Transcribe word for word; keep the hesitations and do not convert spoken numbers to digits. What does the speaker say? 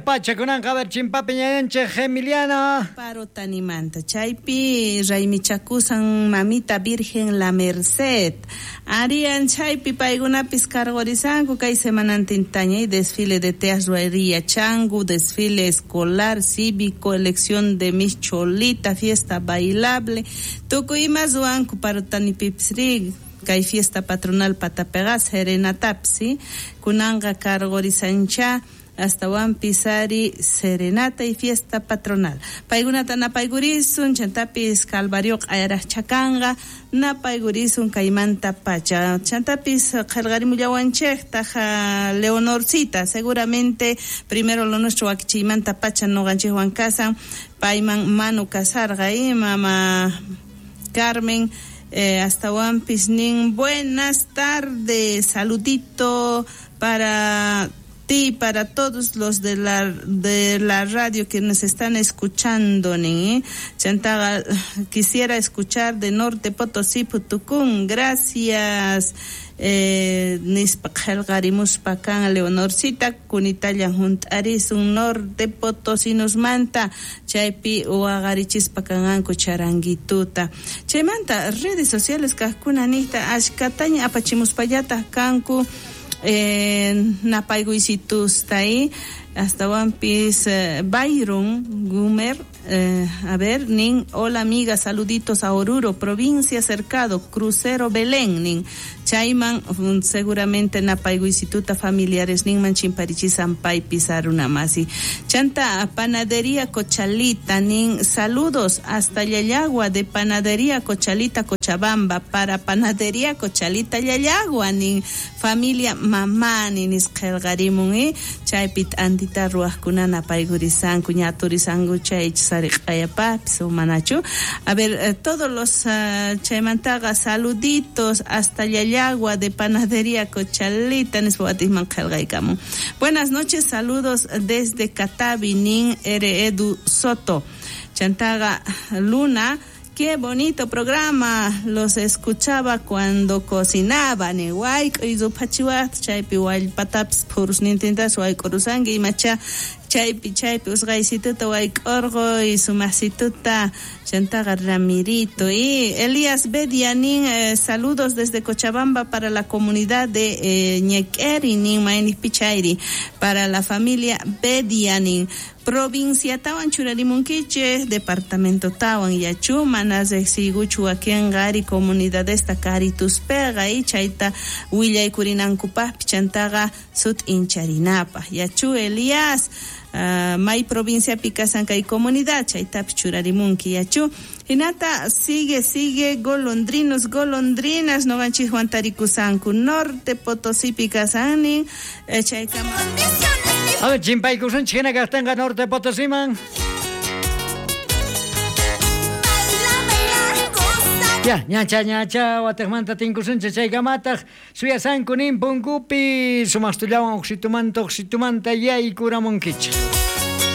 pacha kunanqa a ver chimpapi ñañanchej Emiliana. Parotanimanta chaypi raymichakusan mamita Virgen La Merced. Arian chaypi paykunapis cargorisanku kay semanantintaña y desfile de teas ruería changu, desfile escolar, cívico, elección de Miss Cholita, fiesta bailable, tukuy ima ruwanku Parotanipipis kay fiesta patronal patapeqa serenatapis, kunanqa cargorisancha hasta pisari serenata y fiesta patronal. Paykunata napaykurisun, chantapis Calvario q'ayaraqchakanqa, napaykurisun kaymanta pacha. Chantapis qillqarimullawanchejtaj Leonorcita, seguramente primero lo nuestro wakichiymanta pacha noqanchikwan kasan, payman manu kasarqa y mama Carmen. Eh, hasta nin, buenas tardes, saludito para ti, para todos los de la de la radio que nos están escuchando, nin, ¿eh? Chantaga, quisiera escuchar de Norte Potosí, Putucún, gracias. Eh, nispa qillqarimuspa kan Leonorcita kunitallan hunt'arisun Norte Potosinosmanta chaypi waqarichispa kanqanku charanguituta. Chaymanta redes sociales kaqkuna niqta ashkataña apachimuspallataq kanku eh, napaykuysitusta y hastawanpis eh, Byron Gumer, eh, a ver, nin, hola amiga, saluditos a Oruro, provincia Cercado, Crucero Belén, nin, chayman um, seguramente napaykuysituta familiares ninman chimparichisan paypis arunamasi. Chanta Panadería Cochalita, nin, saludos hasta Llallagua de Panadería Cochalita Cochabamba, para Panadería Cochalita Llallagua, nin, familia mamani nisqillqarimun, eh, chaypi t'antita ruwaqkuna napaykurisanku ñaturisanku chay sariq'ayapapis o manachu. A ver, eh, todos los uh, chaymantaqa saluditos hasta Llallagua de Panadería Cochalita nispa watisman qillqaykamun. Buenas noches, saludos desde Catavi, nin R. Edu Soto. Chantaga Luna, qué bonito programa, los escuchaba cuando cocinaba, ni wayk'uy ruphachiwaqta chaypi wallpatapis phurusnintintas wayk'urusanki imacha chaypi chaypi usqaysituta wayk'urquy sumaqsituta. Chantaqa Ramirito y Elías Bedia nin, eh, saludos desde Cochabamba para la comunidad de eh, Ñequeri nin mayniqpi chayri para la familia Bedia nin. Provincia tawan churarimunkichej, departamento tawan yachu, mana riqsiykuchu wakinqa ari comunidadesta karituspega y chayta willaykurinankupaqpi chantaqa sut'incharinapaq. Yachu Elías, uh, may provincia kasan kay comunidad chaytapi churarimunki yachu. Hinata sigue, sigue, golondrinos, golondrinas, noqanchikwan tarikusanku Norte Potosipi kasanin, eh, chaykama. A ver, chimpaykusunchik hina kaqtinqa Norte Potosiman. Ya, ñacha, ñacha, watejmanta tinkusunchik chaykamataq suyasanku nin punkupi sumaqtullawan uqsitumanta uqsitumanta yaykuramunkichik.